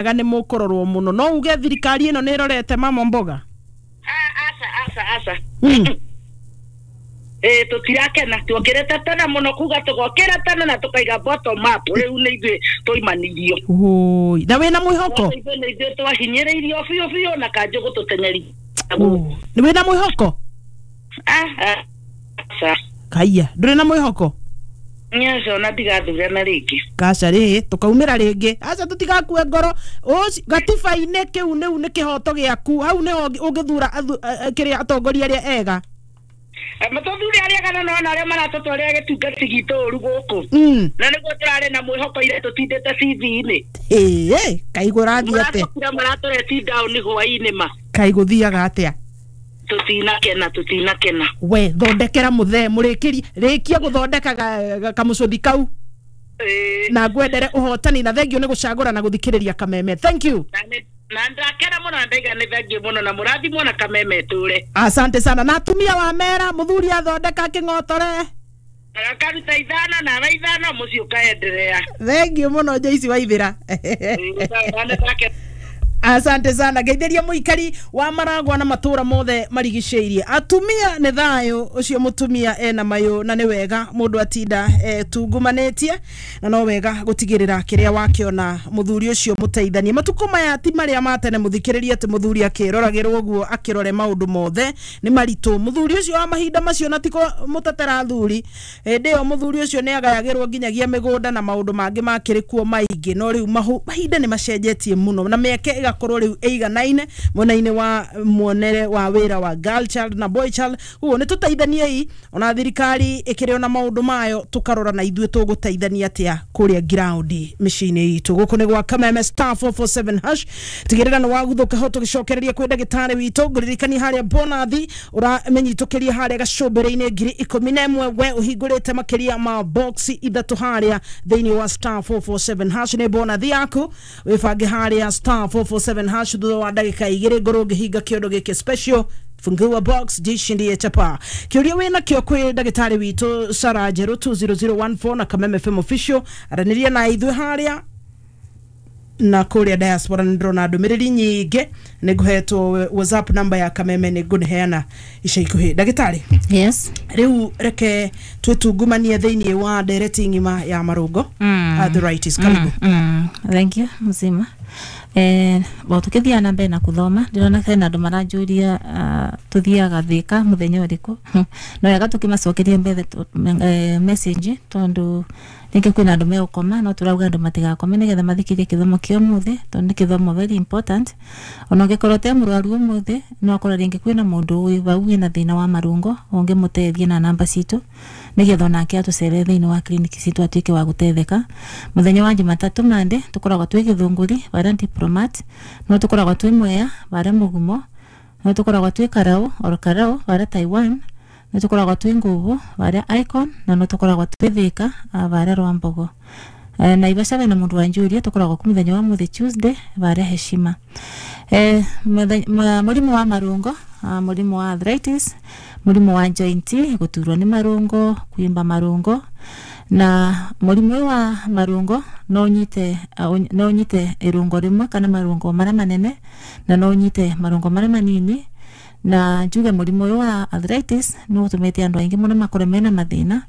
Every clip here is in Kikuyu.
Nĩ mũkũrorwo mũno, no uge thirikari ĩno nĩ ĩrorete mama mboga? Aca, aca, aca. Ĩ tũtirakena, tuokĩrĩte tene mũno kuga tũgokĩra tene na tũkaiga bottom up. Rĩu nĩ ithuĩ twaimanirio. Ũi, na wĩna mwĩhoko? Ithuĩ nĩ ithuĩ twahinyĩrĩirio biũ biũ na kanjũ gũtũteng'eria. Nĩ wĩna mwĩhoko? Aca. Kaiya, ndũrĩ na mwĩhoko? Nyaca, ona ndigathurana rĩngĩ. Kaca rĩ, tũkaumĩra rĩngĩ. Aca, tũtigakue ngoro. Gatiba-inĩ kĩu nĩu nĩ kĩhoto gĩaku, hau nĩho ũngĩthura kĩrĩa atongoria arĩa ega. Matũthure arĩa kana nona arĩa maratũtwarĩra gĩtungati gitũ ũru gũkũ. Na nĩguo tũrarĩ na mwĩhoko ira tũtindĩte CV-inĩ. Ĩĩ, kaigũ rathiĩ atĩa? Maratũkira maratũreti down hwaĩ-inĩ ma. Kaigũ thiaga atĩa? Tũtinakena, tũtinakena. We thondekera mũthee mũrĩkĩrie, rĩkia gũthondeka kamũcũthi kau. Na ngwendere ũhotani na thengio nĩ gũcagũra na gũthikĩrĩria Kameme. Thank you. Na ndakena mũno na ndaiga nĩ thengiũ mũno na mũrathimwo na Kameme tũre. Asante sana. Na atumia wa mera mũthuri athondeka kĩng'otore. Akaruta ithano nawe ithano, mũciĩ ũkaenderea. Thengio mũno, Joyce Waithĩra. Asante sana. Ngeithĩria mũikari wa Maragwa na matũra mothe marigicĩirie. Atumia nĩ thayũ ũcio, mũtumia ena mayũ, na nĩ wega mũndũ atinda tungumanĩtie, na no wega gũtigĩrĩra kĩrĩa wakĩona mũthuri ũcio mũteithanie. Matukũ maya ti marĩa ma tene, mũthikĩrĩrie, atĩ mũthuri akĩroragĩrwo ũguo akĩrore maũndũ mothe nĩ maritũ. Mũthuri ũcio wa mahinda macio, na tiko mũtetera thuri, hĩndĩ ĩyo mũthuri ũcio nĩ agayagĩrwo nginyagia mĩgũnda na maũndũ mangĩ makĩrĩ kuo maingĩ. No rĩu mahinda nĩ macenjetie mũno na mĩeke ĩgakorwo rĩu ĩiganaine mwena-inĩ wa muonere wa wĩra wa girl child na boy child. Koguo nĩ tũteithaniei, ona thirikari ĩkĩrĩ ona maũndũ mayo, tũkarora na ithuĩ tũgũteithania atĩa kũrĩa ground mĩciĩ-inĩ itũ. Gũkũ nĩ gwa Kameme, *447#. Tigĩrĩra nĩ waguthũka ho tũgĩcokereria kwĩ ndagĩtarĩ witũ. Ngũririkania harĩa bonathi ũramenyitũkĩria harĩa gacũmbĩrĩ-inĩ 11,000, we ũhingũrĩte makĩria ma box ithatũ harĩa thĩinĩ wa *447# nĩ bonathi yaku. Wĩbange harĩa *447# thutha wa ndagĩka 2 ngorwo ngĩhinga kĩondo gĩkĩ special. Fungua box, jishindie chapa. Kĩũria wĩna kĩo kwĩ ndagĩtarĩ witũ Sara Njerũ, 20014 na Kameme FM official, aranĩria na ithuĩ harĩa. Na kũrĩa diaspora nĩ ndĩrona ndũmĩrĩri nyingĩ, nĩ ngũhetwo WhatsApp number ya Kameme, nĩ ngũneheana ica ikuhĩ. Ndagĩtarĩ. Yes. Rĩu reke twĩtungumanie thĩinĩ wa ndereti ng'ima ya marũngo, arthritis. Karibu. Thank you mzima. Bo tukithia na mbere na kuthoma, ndirona hena andu maranjuria tuthiaga Thika muthenya uriku. No wega tukimacokeria mbere message, tondu ringi kwina andu megukoma, no turauga andu matigakome nigetha mathikirie kithomo kia umuthi, tondu ni kithomo very important. Ona ungikorwo te murwaru umuthi, no akorwo ringi kwina mundu wi vau wina thina wa marungo ungimutethia na namba citu, nigetha onake atucerere thiini wa clinic citu atuike wa gutetheka. Muthenya wa Jumatatu, Monday, tukoragwo twi Githunguri varia Diplomat, no tukoragwo twi Mwea varia Mugumo, no tukoragwo twi Karau or Karau varia Taiwan, no tukoragwo twi Nguvu varia Icon, na no tukoragwo twi Thika varia Rwambogo. Naivasha vena mundu wa njuria, tukoragwo ku muthenya wa muthi Tuesday varia Heshima. Murimu wa marungo, murimu wa arthritis, murimu wa joint, guturwo ni marungo, kuimba marungo. Na murimu ũyũ wa marungo no unyite irungo rimwe kana marungo maria manene, na no unyite marungo maria manini. Na njuge murimu ũyũ wa arthritis nĩ ũtũmĩte andũ aingĩ mũno makorwo mena mathĩna,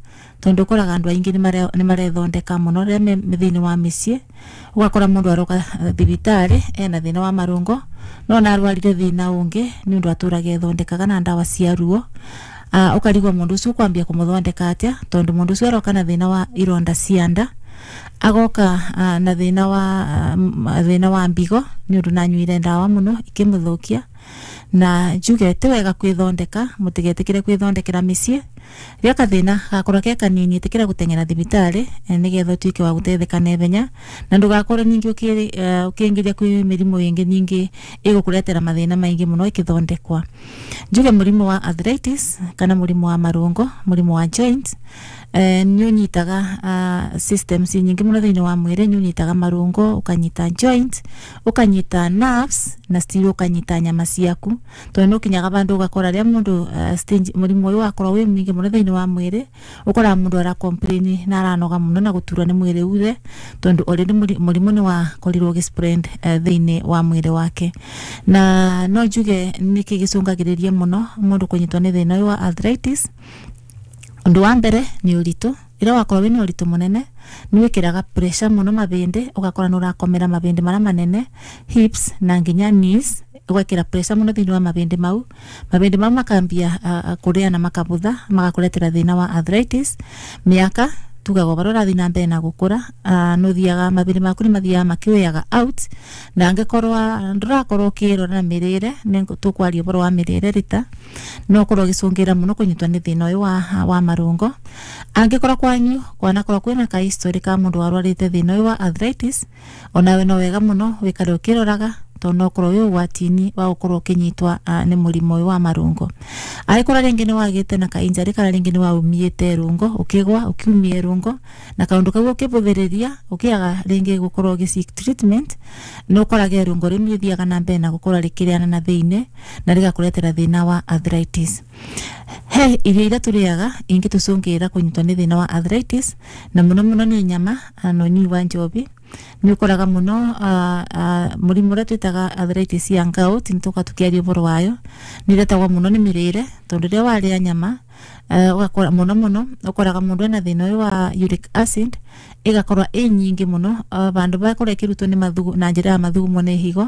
tondũ ũkoraga andũ aingĩ nĩ marethondeka mũno rĩrĩa me thĩinĩ wa mĩciĩ. Ũgakora mũndũ aroka thibitarĩ ena thĩna wa marũngo, no na arwarire thĩna ũngĩ nĩ ũndũ atũraga ethondekaga na ndawa cia ruo. Ũkarigwo mũndũ ũcio ũkwambia kũmũthondeka atĩa, tondũ mũndũ ũcio aroka na thĩna wa ironda cia nda, agoka na thĩna wa mbigo nĩ ũndũ nanyuire ndawa mũno ikĩmũthũkia. Na njuge ti wega kwĩthondeka, mũtigetĩkĩre kwĩthondekera mĩciĩ. Rĩrĩa kathĩna gakorwo ke kanini, ĩtĩkĩra gũteng'era thibitarĩ nĩgetha ũtuĩke wa gũteithĩka naihenya, na ndũgakorwo ningĩ ũkĩingĩria kwĩ mĩrimũ ĩngĩ ningĩ ĩgũkũretera mathĩna maingĩ mũno ĩkĩthondekwa. Njuge mũrimũ wa arthritis kana mũrimũ wa marũngo, mũrimũ wa joint, nĩ ũnyitaga systems nyingĩ mũno thĩinĩ wa mwĩrĩ. Nĩ ũnyitaga marũngo, ũkanyita joint, ũkanyita nerves, na still ũkanyita nyama ciaku, tondũ nĩ ũkinyaga vandũ ũgakora rĩrĩa mũndũ stage mũrimũ ũyũ wakorwo wĩ mũingĩ. nyingi muno thiini wa mwiri ukora mundu ara complain na aranoga muno na guturwa ni mwiri uthe tondu already murimu ni wakorirwo gispread thiini wa mwiri wake. Na no njuge niki gicungagiriria muno mundu kunyitwo ni thina uyu wa arthritis. Undu wa mbere ni uritu. Ira wakorwo wina uritu munene ni wikiraga pressure muno mabindi, ugakora ni urakomera mabindi maria manene, hips na nginya knees, ugakira pressure muno thiini wa mabindi mau. Mabindi mau makambia kuria na makabutha magakuretera thina wa arthritis. Miaka tugaga barora urathi na mbere na gukura, nuthiaga mabindi maku ni mathiaga makiweaga out, na angikorwa ndurakorwo ukirora na mirire, ni tukwaria uboro wa mirire rita, no ukorwo ugicungira muno kunyitwo ni thina uyu wa marungo. Angikorwo kwanyu kwanakorwo kwina ka history ka mundu warwarite thina uyu wa arthritis, onawe no wega muno wikare ukiroraga tondu no ukorwo wi ugwati-ini wa gukorwo ukinyitwa ni murimu uyu wa marungo. Angikorwo ringi ni wagite na ka injury kana ringi ni waumiite rungo, ukigwa ukiumie rungo na kaundu kau ukibuthiriria ukiaga ringi gukorwo ugi seek treatment, no ukorage rungo riu rithiaga na mbere na gukorwo rikiriana na thiini na rigakuretera thina wa arthritis. He irio iria turiaga ingitucungira kunyitwo ni thina wa arthritis, na muno muno ni nyama na unyui wa njobi. Ni ukoraga muno murimu uria twitaga arthritis ya gout, nituka tukiaria uboro wayo, ni iretagwo muno ni mirire, tondu riria waria nyama ugakora muno muno ukoraga mundu ena thina uyu wa uric acid igakorwa i nyingi muno, bandu bakorwo ikirutwo ni mathugu na njira ya mathugumo ni higo,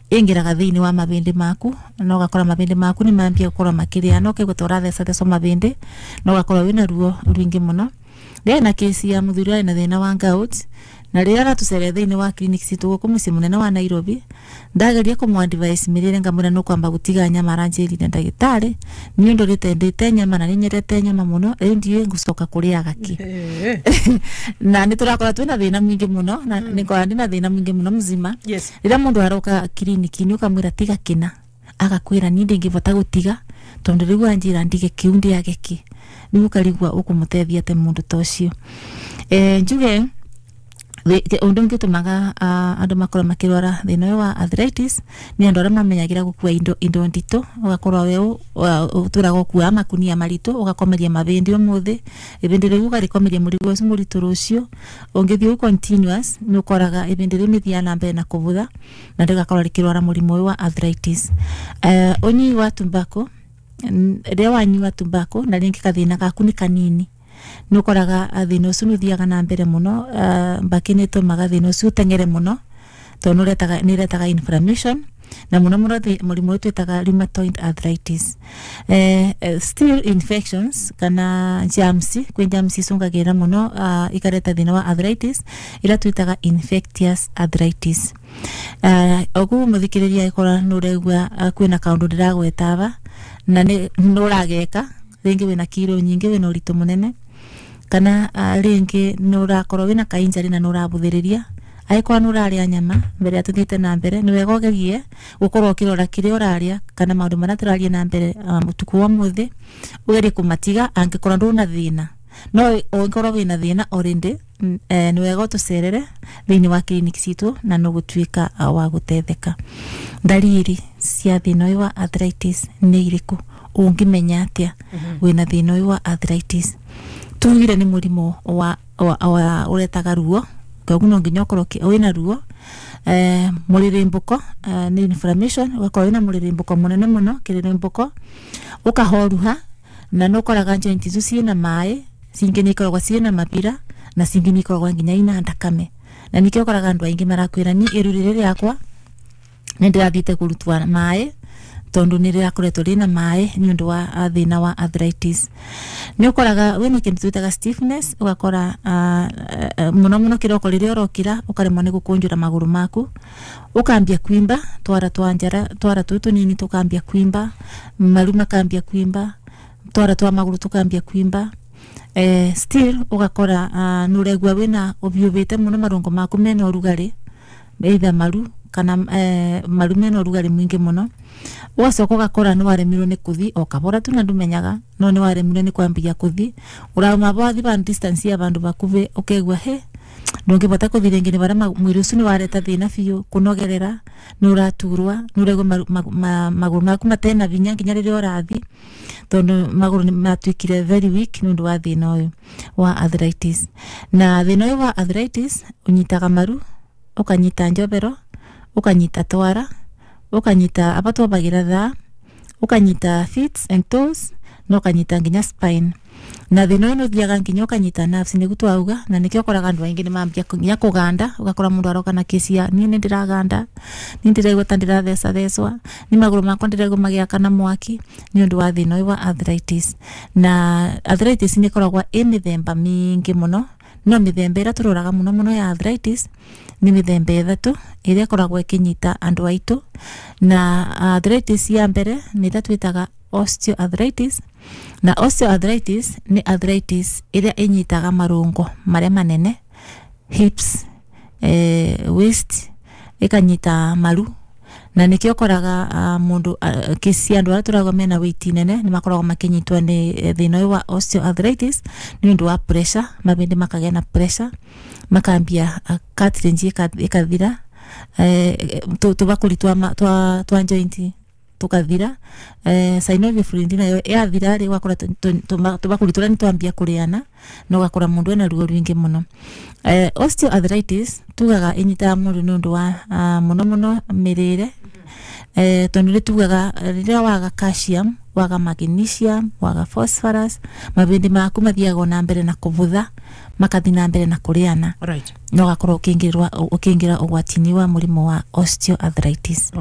ingiraga thiini wa mabindi maku na ugakora mabindi maku ni mambia gukorwo makiria na ukaigua ta urathecathecwo mabindi na ugakorwo wina ruo rwingi muno. Ndĩarĩ na kesi ya muthuri arĩ na thĩna wa gout, na rĩrĩa aratucereire thĩinĩ wa clinic citũ gũkũ mũciĩ mũnene wa Nairobi, ndageria kũmũ advise mĩrĩre ngamwĩra nĩ ũkwamba gũtiga nyama, aranjĩrire ndagĩtarĩ niĩ ndũrĩte ndĩte nyama na nĩnyendete nyama mũno, rĩu ndiũĩ ngũcoka kũrĩaga kĩ. Na nĩ tũrakora twĩna thĩna mũingĩ mũno, na nĩngora ndĩna thĩna mũingĩ mũno mzima. Rĩrĩa mũndũ aroka kiriniki-inĩ ũkamwĩra tiga kĩna, agakwĩra niĩ ndingĩbota gũtiga tondu rĩu anjĩra ndige kĩu ndĩage kĩ, rĩu ũkarigwa ũkũmũteithia atĩ mũndũ ta ũcio. Njuge undu ungi utumaga andu makorwo makirwara thina uyu wa arthritis ni andu aria mamenyagira gukua indo ndito, ugakorwo we uturaga gukua makunia maritu, ugakomeria mabindi umuthi, ibindi riu ugarikomeria murigo ucio muritu rucio, ungithii continuous ni ukoraga ibindi riu nithiaga na mbere na kuvutha na rigakorwo rikirwara murimu uyu wa arthritis. Unyui wa tobacco, riria wanyua tobacco na ringi kathina gaku ni kanini, ni ukoraga thina ucio ni uthiaga na mbere muno. Mbaki ni itumaga thina ucio uteng'ere muno tondu ni iretaga inflammation na muno muno murimu uyu twitaga rheumatoid arthritis. Still infections kana germs, kwi germs icungagira muno ikareta thina wa arthritis ira twitaga infectious arthritis. Oguo muthikiriria ikora nuregua kwina kaundu ndiragweta aba na ni nurageka ringi wina kiro nyingi, wina uritu munene, kana ringi nurakorwo wina ka injury na nurabuthiriria, angĩkorwo nuraria nyama mbere ya tuthiĩte na mbere ni wega ũgerie gukorwo ukirora kiria uraria kana maundu maria turaria na mbere utuku wa muthi, ugerie kumatiga angĩkorwo nduna thina. No ũngĩkorwo wina thina already, ni wega ũtũcerere thĩinĩ wa clinic citũ na nũgũtuĩka wa gũtetheka. Ndariri cia thĩna ũyũ wa arthritis nĩ irĩkũ? Ũngĩmenya atĩa wĩna thĩna ũyũ wa arthritis? Tugire nĩ mũrimũ wa ũretaga ruo, koguo no nginya ũkorwo wĩna ruo. Mũrĩrĩmbũko nĩ inflammation, ũgakorwo wĩna mũrĩrĩmbũko mũnene mũno, kĩrĩrĩmbũko, ũkahoruha na nĩ ũkoraga joint icio ciĩna maĩ, cingĩ nĩ ikoragwo ciĩna mabira na cingĩ nĩ ikoragwo nginya ina thakame, na nĩkĩo ũkoraga andũ aingĩ marakwĩra niĩ iru rĩrĩ rĩakwa nĩ ndĩrathiĩte kũrutwo maĩ tondu nĩ rĩrakoretwo rĩna maĩ nĩ ũndũ wa thĩna wa arthritis. Nĩ ũkoraga wĩna kĩndũ twĩtaga stiffness, ũgakora mũno mũno kĩroko rĩrĩa ũrokĩra ũkaremwo nĩ gũkũnjũra magũrũ maku, ũkambia kwimba twara twa njara, twara tũu tũnini tũkambia kwimba, maru makambia kwimba, twara twa magũrũ tũkambia kwimba. Still ũgakora nĩ ũraigua wĩna ũbiũbĩte mũno, marũngo maku mena ũrugarĩ, either maru kana maru mena ũrugarĩ mũingĩ mũno. Ũgacoka ũgakora nĩ waremirwo nĩ kũthi o kabora tu na ndũmenyaga, no nĩ waremirwo nĩ kwambia kũthi, ũrauma wathi ba distance ya bandu bakubi ũkaigua he Ndũngĩbota kũthi rĩngĩ nĩ barĩa mwĩrĩ ũcio nĩ wareta thĩna biũ, kũnogerera, nĩ ũraturwa, nĩ ũraigua magũrũ maku matena vinya nginya rĩrĩa ũrathi, tondũ magũrũ nĩ matuĩkire very weak nĩ ũndũ wa thĩna ũyũ wa arthritis. Na thĩna ũyũ wa arthritis ũnyitaga maru, ũkanyita njobero, ũkanyita twara, ũkanyita aba twambagira thaa, ũkanyita feet and toes, na ũkanyita nginya spine. Na thĩna ũyũ nĩ ũthiaga nginya ũkanyita nerves, nĩguo twauga, na nĩkĩo ũkoraga andũ aingĩ nĩ mambia nginya kũganda, ũgakora mũndũ aroka na kesi ya niĩ nĩ ndĩraganda, niĩ ndĩraigua ta ndĩrathecathecwa, nĩ magũrũ makwa ndĩraigua magĩakana mwaki, nĩ ũndũ wa thĩna ũyũ wa arthritis. Na arthritis nĩ ĩkoragwo ĩ mĩthemba mĩingĩ mũno, no mĩthemba ĩrĩa tũroraga mũno mũno ya arthritis nĩ mĩthemba ĩthatũ ĩrĩa ĩkoragwo ĩkĩnyita andũ aitũ. Na arthritis ya mbere nĩ ĩrĩa twĩtaga osteoarthritis. Na osteoarthritis nĩ arthritis ĩrĩa ĩnyitaga marũngo marĩa manene, hips, waist, ĩkanyita maru. Na nĩkĩo ũkoraga mũndũ kesi andũ arĩa tũrauga mena weight nene nĩ makoragwo makĩnyitwo nĩ thĩna ũyũ wa osteoarthritis nĩ ũndũ wa pressure, mabĩndĩ makagĩa na pressure, makambia cartilage ĩkathira, tũbakũri twa joint tukathira, synovial fluid nayo yathira rĩ, ũgakora tũbakũri tũrĩa nĩ twambia kũrĩana, na ũgakora mũndũ ena ruo rwingĩ mũno. Osteoarthritis tugaga ĩnyitaga mũndũ nĩ ũndũ wa mũno mũno mĩrĩre, tondũ nĩ tugaga rĩrĩa waga calcium, waga magnesium, waga phosphorus, mabĩndĩ maku mathiaga na mbere na kũbutha, makathi na mbere na kũrĩana, na ũgakorwo ũkĩingĩra ũgwati-inĩ wa mũrimũ wa osteoarthritis.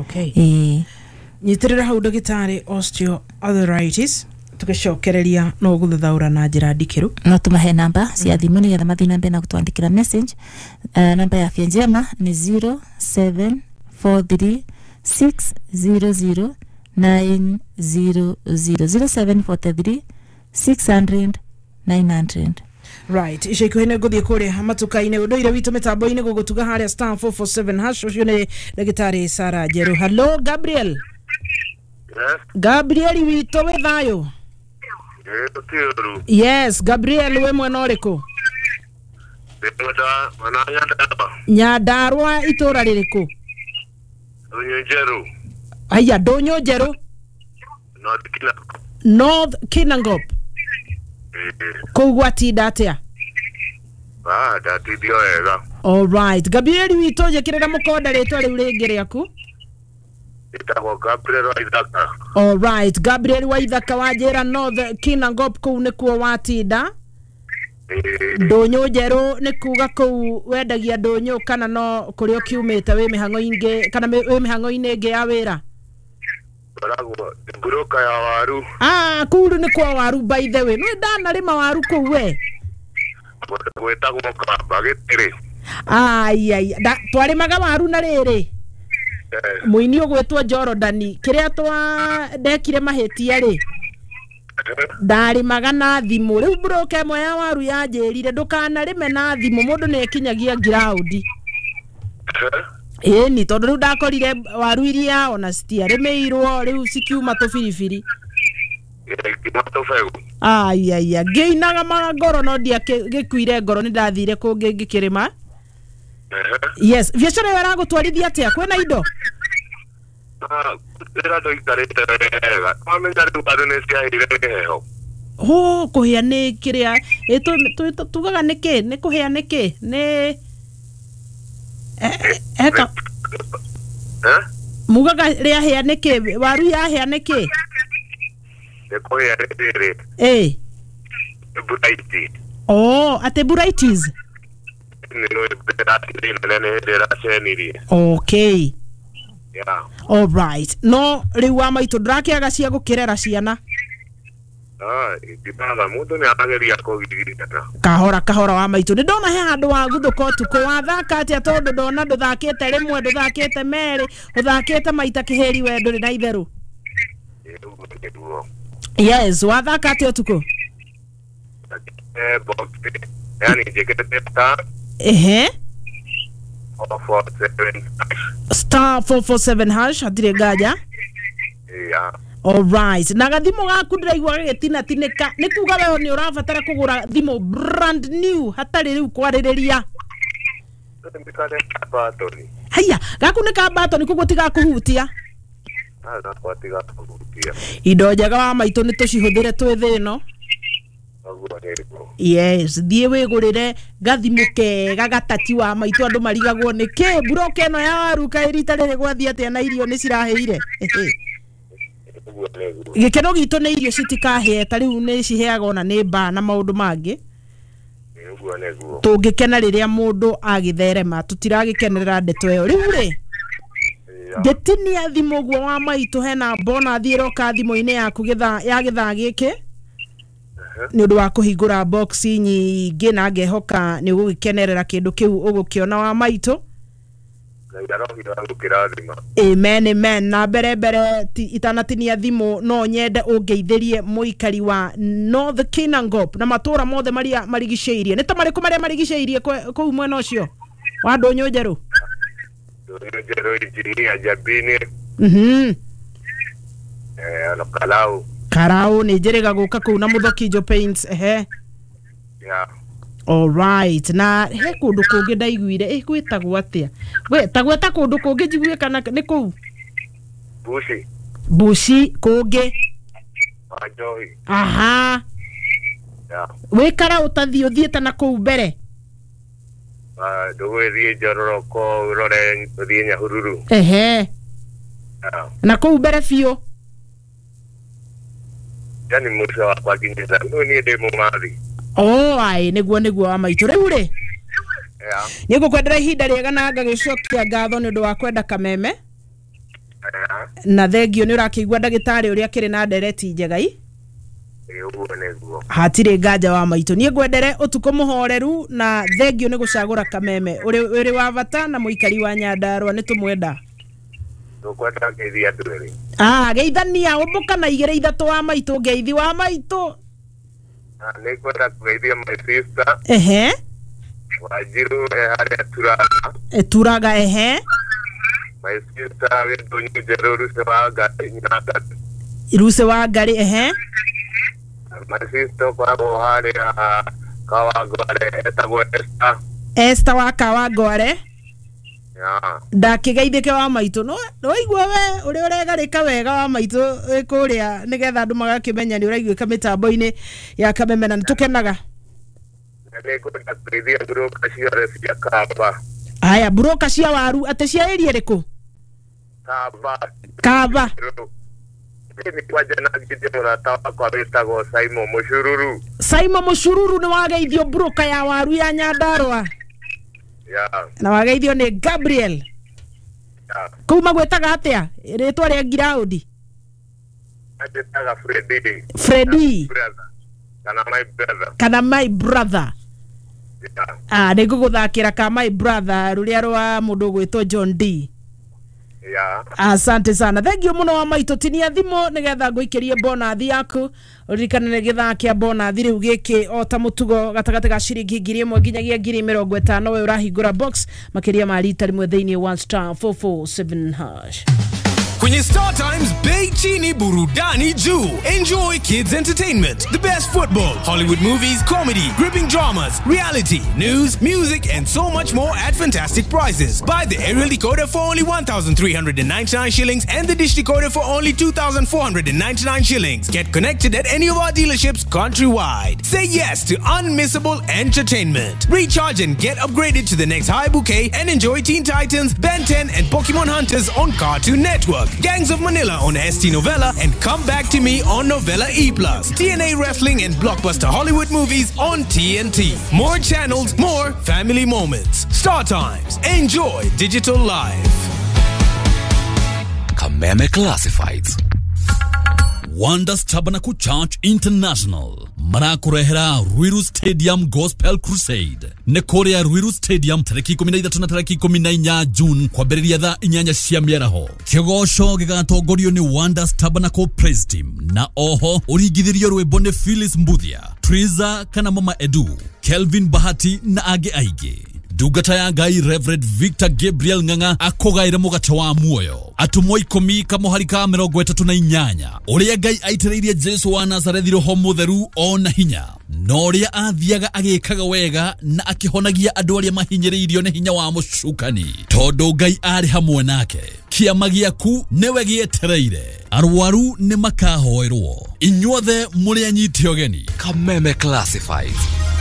Nyitirĩra hau ndagĩtarĩ, osteoarthritis tũgĩcokereria no gũthathaũra na njĩra ndikĩru. No tumahe namba cia thimũ nĩgetha mathiĩ na mbere na gũtwandĩkĩra message. Namba ya Afya Njema nĩ 0743 600 900, 0743 600 900. Right, ica ikuhĩ nĩ ngũthiĩ kũrĩa matuka-inĩ, ũndũire witũ mĩtambo-inĩ gũgũtuga harĩa *447#. Ũcio nĩ ndagĩtarĩ Sara Njerũ. Hello Gabriel. Yes. Gabriel witũ, wĩ thayũ? Ĩ, Yes, Gabriel, wĩ mwena ũrĩkũ? Ndĩmwenda mwena wa Nyandarua. Nyandarua itũra rĩrĩkũ? Ndũnyũ Njerũ. Aya, Ndũnyũ Njerũ. North Kinangop. North Kinangop. Kũu gwatinda atĩa? Ah, ndatindio wega. Alright, Gabriel witũ, njĩkĩrĩra mũkonda rĩtwa rĩu rĩngĩ rĩaku. Ĩtagwo Gabriel Waithaka. Alright, Gabriel Waithaka, wanjĩra North Kinangop kũu nĩkuo watinda. Ndũnyũ Njerũ nĩ kuga kũu wendagia ndũnyũ, kana no kũrĩa ũkiumĩte wĩ mĩhang'o ingĩ, kana wĩ mĩhang'o-inĩ ĩngĩ ya wĩra? Ngoragwo mburoka ya waru. Ah, kũu rĩu nĩ kwa waru. By the way, nĩ ndanarĩma waru kũu we. Kũndũ gwĩtagwo Kamba Gĩtĩrĩ. Ai twarĩmaga waru na rĩrĩ mũini ũgwĩtwo Jorodani, kĩrĩa twa ndekire mahĩtia rĩ, ndarĩmaga na thimũ. Rĩu mburoka ĩmwe ya waru yanjĩrire, "Ndũkanarĩme na thimũ, mũndũ nĩ ekinyagia ngiraũndi." Ĩni, tondũ rĩu ndakorire waru iria ona citiarĩmĩirwo, rĩu cikiuma tũbiribiri. Nginya tũbegũ. Aiaia, ngĩinaga ngoro, no ndiagĩkuire ngoro, nĩ ndathire kũngĩ ngĩkĩrĩma. Yes, biacara ĩyo ĩragũtwarithia atĩa, kwĩna indo? Ah, wĩra ndũikarĩte wega. Wamenya rĩu andũ nĩ ciahĩire nĩ heho. Hũ, kũhĩa nĩ kĩrĩa tugaga nĩ kĩ, nĩ kũhĩa nĩ kĩ, nĩ eka Eh? Mugaga rĩahĩa nĩ kĩ, waru yahĩa nĩ kĩ? Nĩ kũhĩa rĩrĩ. Nĩ buraiti. Oh, atĩ buraitis. Nĩ mbura nene nĩ hĩndĩ ĩracenirie. Yeah. Alright, no rĩu wa maitũ ndũrakĩaga cia gũkĩrera ciana? Ah, itinaga, mũndũ nĩ arageria kũgirĩrĩria. Kahora kahora, wa maitũ. Nĩ ndona he handũ waguthũka ũtukũ, wathaka atĩa? Tondũ ndona ndũthakĩte rĩmwe, ndũthakĩte merĩ, ũthakĩte maita kĩhĩri, we ndũrĩ na itherũ. Ũguo nĩguo. Yes, wathaka atĩa ũtukũ? Box, yani njĩkĩrĩte star 447. *447#, hatirĩ nganja. Yeah. Alright, na gathimũ gaku ndĩraigua gagĩtinatinĩka, nĩ kuga we nĩ ũrabatara kũgũra thimũ brand new, hatarĩ rĩu kwarĩrĩria. Batoni. Haya, gaku nĩ ka batoni koguo tigakuhutia. Gakwa tigakuhutia. Indo njega wa maitũ nĩ tũcihũthĩre twĩ thĩ ĩno. Yes, thiĩ wĩgũrĩre gathimũ kega gatati wa maitũ andũ marigagwo nĩ kĩ mburoka ĩno ya waru kaĩ rita rĩrĩ gwathiĩ atĩa na irio nĩ cirahĩire. Gĩkeno gitũ nĩ irio citikahĩe ta rĩu nĩ ciheaga ona nĩ mbaa na maũndũ mangĩ. Tũngĩkena rĩrĩa mũndũ agĩtherema tũtiragĩkenerera ndeto ĩyo. Rĩu rĩ ngĩtinia thimũ ũguo wa maitũ hena bonathi ĩroka thimũ-inĩ yaku ya gĩthaa gĩkĩ nĩ ũndũ wa kũhingũra box nyingĩ na ngehoka nĩ ũgũgĩkenerera kĩndũ kĩu ũgũkĩona wa maitũ. Amen, amen. Na mbere mbere itanatinia thimũ no nyende ũngeithĩrie mũikari wa North Kinangop na matũra mothe maria marigicĩirie. Nĩ ta marĩkũ marĩa marigicĩirie kũu mwena ũcio wa Ndũnyũ Njerũ? Ndũnyũ Njerũ, Injinia Jabini. Karau. Karau nĩ njĩrĩga gũka kũu na Mũthokinjo Paints. Ehe. Yeah. All right. Na he kũndũ kũngĩ ndaiguire gwĩtagwo atĩa? We ta gweta kũndũ kũngĩ njigue kana nĩ kũu? Bushi. Bushi kũngĩ. Wanjohi. Aha. Yeah. Wĩ Karau ũtathiĩ ũthiĩte na kũu mbere? Ndũgũgĩthiĩ Njororoko ũrore ũthiĩ Nyahururu. Ehe. Na kũu mbere biũ? Yani mũico wakwa nginyĩte rĩu niĩ ndĩ Mũmathi. Oh, ai nĩguo nĩguo wa maitũ. Rĩu rĩ nĩ ngũkwendera ihinda rĩega na ngagĩcokia ngatho nĩ ũndũ wa kwenda kameme. Na thengio nĩ ũrakĩigua ndagĩtarĩ ũrĩa akĩrĩ na ndereti njega i. Hatirĩ nganja wa maitũ. Niĩ ngwendere ũtukũ mũhoreru na thengio nĩ gũcagũra kameme. Ũrĩ wa bata na mũikari wa Nyandarũa nĩ tũmwenda. Tũkwenda ngeithia andũ erĩ. Ah, geithania ũmbũka na igĩrĩ ithatũ wa maitũ ngeithi wa maitũ. Nĩ ngwenda kũgeithia my sister. Ehe. Wanjiru harĩa Turaga. Turaga ehe. My sister wĩ Ndũnyũ Njerũ Ruce wa Ngarĩ Nyandarũa. Ruce wa Ngarĩ ehe. My sister ũkoragwo harĩa Kawangware etagwo Esther. Esther wa Kawangware. Ndakĩgeithĩke wa maitũ no waigua we ũrĩa ũregarĩka wega wa maitũ kũrĩa nĩgetha andũ magakĩmenya nĩ ũraiguĩka mĩtambo-inĩ ya kameme na nĩtũkenaga. Nĩngwenda kũgeithia mburoka ciothe cia Kamba. Aya, mburoka cia waru atĩ cia area ĩrĩkũ? Kamba. Kamba. Nĩ kwanja na ngithia mũrata wakwa wĩtagwo Simon Mũcururu. Simon Mũcururu nĩ wageithio mburoka ya waru ya Nyandarũa. Yeah. Na wageithio nĩ Gabriel. Yeah. Kũu magwĩtaga atĩa rĩtwa rĩa ngiraũndi? Anjĩtaga Freddy. Freddy. Brother. Kana my brother. Kana my brother. Yeah. Ah, nĩ ngũgũthakĩra ka my brother rũrĩa rwa mũndũ ũgwĩtwo John D. Yeah. Asante sana. Thank you mũno wa maitũ. Tinia thimũ nĩgetha ngũikĩrie bonathi yaku. Ũririkane nĩ gĩthaa kĩa bonathi rĩu gĩkĩ o ta mũtugo gatagatĩ ga ciringi 1,000 nginyagia 50,000 we ũrahingũra box makĩria ma rita rĩmwe thĩinĩ wa *447#. Kwenye Star Times, bei chini, burudani juu. Enjoy kids entertainment, the best football, Hollywood movies, comedy, gripping dramas, reality, news, music, and so much more at fantastic prices. Buy the aerial decoder for only 1,399 shillings and the dish decoder for only 2,499 shillings. Get connected at any of our dealerships countrywide. Say yes to unmissable entertainment. Recharge and get upgraded to the next high bouquet and enjoy Teen Titans, Ben 10, and Pokemon Hunters on Cartoon Network. Gangs of Manila on ST Novella, and Come Back to Me on Novella E+. TNA Wrestling and Blockbuster Hollywood movies on TNT. More channels, more family moments. Star Times. Enjoy digital life. Kameme Classifieds. Wonders Tabernacle Church International marakurehera Ruiru Stadium Gospel Crusade nĩ kũrĩa Ruiru Stadium tarĩki 13 na tarĩki 14 June kwambĩrĩria thaa 8 cia mĩaraho. Kĩgoco gĩgatongorio nĩ Wonders Tabernacle Praise Team na oho ũringithĩrio rwĩmbo nĩ Phyllis Mbuthia, Triza kana Mama Edu, Kelvin Bahati na angĩ aingĩ. Ndungata ya Ngai Reverend Victor Gabriel Ng'ang'a akũgaĩre mũgate wa muoyo. Atũmwo 10 kamũhari ka 38, ũrĩa Ngai aitĩrĩirie Jesu wa Nazarethi roho mũtheru ona hinya, na ũrĩa athiaga agĩkaga wega na akĩhonagia andũ arĩa mahinyĩrĩirio nĩ hinya wa mũcukani, tondũ Ngai arĩ hamwe nake. Kĩama gĩaku nĩwe gĩetereire, arwaru nĩ makahoerwo, inyuothe mũrĩ anyite ũgeni. Kameme Classifieds.